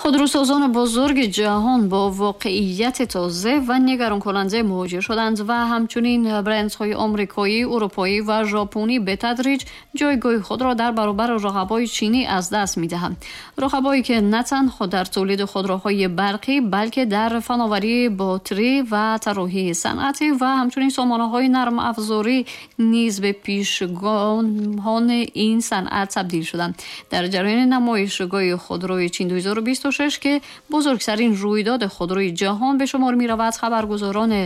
Худрӯсозони бузурги ҷаҳон бо воқеияти тоза ва нигаронкунанда мувоҷеҳ шуданд ва ҳамчунин брендҳои омрикоӣ, урупоӣ ва жопонӣ ба тадриҷ ҷойгоҳи худро дар баробари рақабои чинӣ аз даст медиҳанд. Рақабое ки на танҳо дар тулиди худроҳои барқӣ, балки дар фановарии ботрӣ ва тарроҳии санъатӣ ва ҳамчунин сомонаҳои нармафзорӣ низ ба пешгомони ин санъат табдил шуданд. Дар ҷараёни намоишгоҳи худрои Чин 2026 ки бузургтарин рӯйдоди худрои ҷаҳон ба шумор меравад, хабаргузорони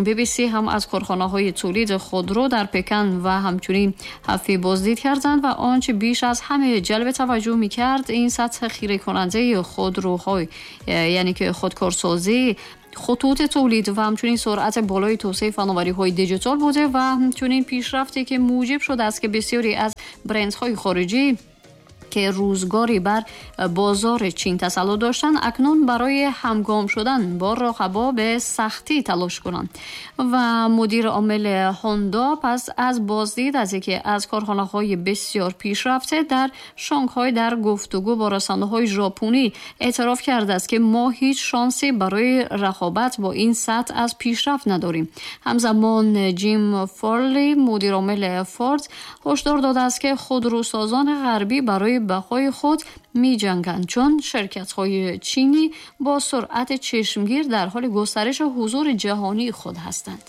BBC ҳам аз корхонаҳои тулиди худро дар Пекин ва ҳамчунин Ҳафи боздид карданд ва он чи беш аз ҳама ҷалби таваҷҷӯҳ мекард, ин сатҳи хиракунандаи худроҳои, яъне ки худкорсозӣ, хутути тулид ва ҳамчунин суръати болои тавсеаи фановариҳои диҷитал буда ва ҳамчунин пешрафте ки мӯҷиб шудааст ки бисёре аз брендҳои хориҷӣ ки рӯзгоре бар бозори Чин тасаллут доштанд, акнун барои ҳамгом шудан бо рақабо ба сахтӣ талош кунанд. Ва мудири омили Ҳонда пас аз боздид аз яке аз корхонаҳои бисёр пешрафта дар Шанхай дар гуфтугӯ бо расонаҳои жопонӣ эътироф кардааст, ки мо ҳеҷ шансе барои рақобат бо ин сатҳ аз пешрафт надорем. Ҳамзамон Ҷим Фарли, мудири омили Форд, ҳушдор додааст, ки худрӯсозони ғарбӣ барои бақои худ меҷанганд, чун ширкатҳои чинӣ бо суръати чашмгир дар ҳоли густариши ҳузури ҷаҳонии худ ҳастанд.